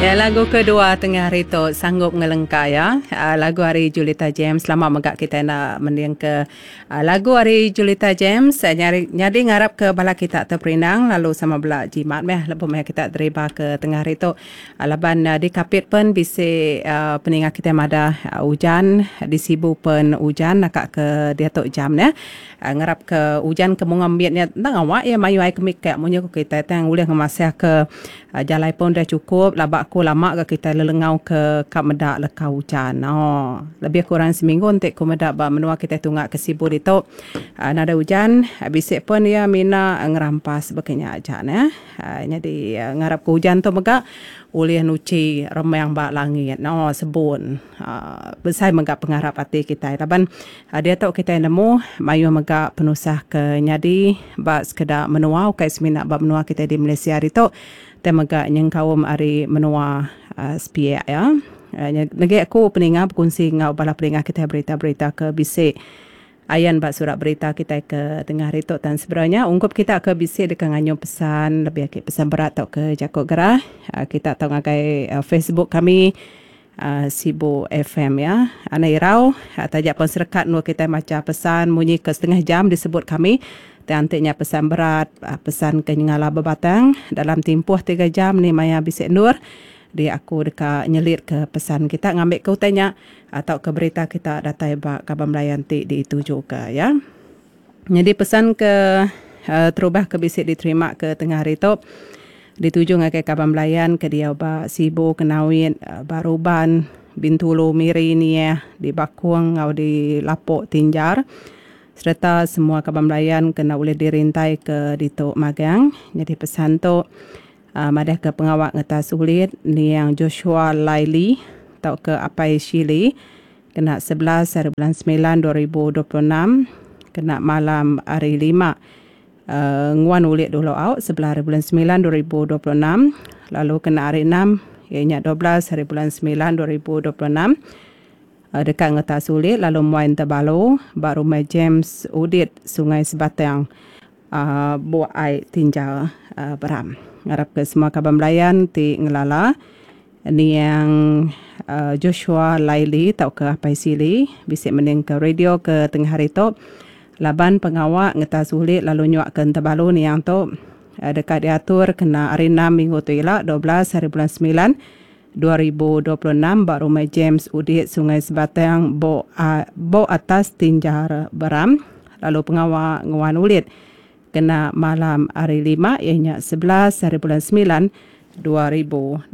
Ya lagu kedua tengah hari tu sanggup ngelengka ya. Lagu ari Julita James lama mega kitai enda mending ke lagu ari Julita James nyadi ngarap ke bala kita teperindang lalu sama bela jimat meh lebuh meh kita deriba ke tengah hari tu. Laban di Kapit pen bisi peninga kitai madah ujan di Sibu pen ujan naka ke diatu jam neh. Ngarap ke ujan ke munga mit nya enda ngawa iya mayuh ai ke mikak munyi ku kitai tang ulih ngemasah ke jalai pun udah chukup laba ku lama ga kitai lelengau ke ka meda leka ujan. Ooh lebih kurang seminggu enti ku meda ba menua kitai tunga ke Sibu ditu nadai ujan bisi pen iya mina ngerampas baka nya aja neh. Nyadi ngarap ke ujan tu mega ulih nuchi remang ba langit no sebun besai mega pengarap ati kitai laban diatu kitai nemu mayuh mega penusah ke nyadi ba sekeda menua ukai semina ba menua kitai di Malaysia ditu tai mega nyengkaum ari menua sepiak iya. Negi aku peninga bekunsi enggau bala peninga kitai berita-berita ke bisi. Ayan ba surat berita kitai ke tengah hari tu tan sebedau nya ungkup kita ke bisi deka nganyung pesan lebih agi pesan berat tauka jaku gerah kita tau ngagai Facebook kami Sibu FM ya. Anang irau taja pun serekat endur kitai macha pesan munyi ke setengah jam disebut kami tang enti nya pesan berat pesan ke nyengala bebatang dalam timpuh tiga jam ni maya bisi endur dia aku deka nyelitka pesan kita ngambika utai nya tauka berita kita datai ba kaban belayan ti ditujuka iya. Nyadi pesan ke terubah ke bisi diterima ke tengah hari tu dituju ngagai kaban belayan ke diau ba Sibu, Kenawit, Baruban, Bintulu, Miri, Niah, di Bakong enggau di Lapok Tinjar sereta semua kaban belayan ke enda ulih dirintai ke ditu magang. Nyadi pesan tu. Madahka pengawa ngetas ulit niang Joshua Laili tauka Apai Shili kena 11 hari bulan semilan 2026 kena malam hari Lima nguan ulit dulu au sebelah hari bulan semilan 2026 lalu kena hari Enam iya nya 12 hari bulan semilan 2026 deka ngetas ulit lalu muai Entabalu ba Rumah James Udit Sungai Sebatang. Buk ai tinjau Beram. Ngarap ke semua kaban belayan ti ngelala niang Joshua Laili tauka Apai Sili bisi mendingka radio ke tengah hari tu laban pengawa ngetas ulit lalu nyuaka entabalu niang tu deka diatur kena hari Enam minggu tu ila 12 hari bulan semilan 2026 ba Rumah James Udit Sungai Sebatang Bok Bok Atas Tinjar Beram lalu pengawa nguan ulit kena malam hari Lima iya nya 11 hari bulan semilan 2026.